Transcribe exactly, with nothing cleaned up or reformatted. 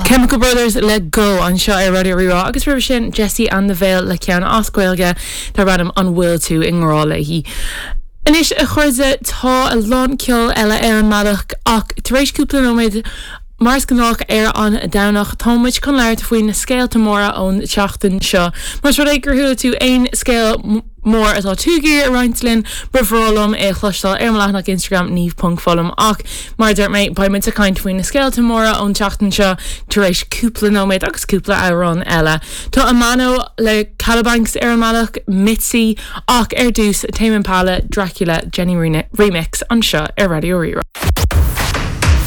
Chemical Brothers le Go anseo ar Raidió Rí-Rá agus roimhe sin Jesse and the Veil le ceann as Gaeilge darb ainm An bhfuil tú i ngrá léi. Anois a chairde tá a lán ceol eile ar an mbealach ach tar éis cúpla nóiméad Mar is gnách ar an Domhnach táimid chun labhairt faoi na scéalta móra ón tseachtain seo. Más rud é gur chuala tú aon scéal mór atá tú ag iarraidh a roinnt linn ba bhreá liom é chloisteáil ar mo leathanach Instagram niamh.foghlaim ach mar dúirt mé beimid ag caint faoi na scéalta móra ón tseachtain seo tar éis cúpla nóiméad agus cúpla amhrán eile. Tá Amano le Calabanks ar an mbealach Mitzi ach ar dtús Tame Impala Dracula Jenny Remix anseo ar Raidió Rí-Rá.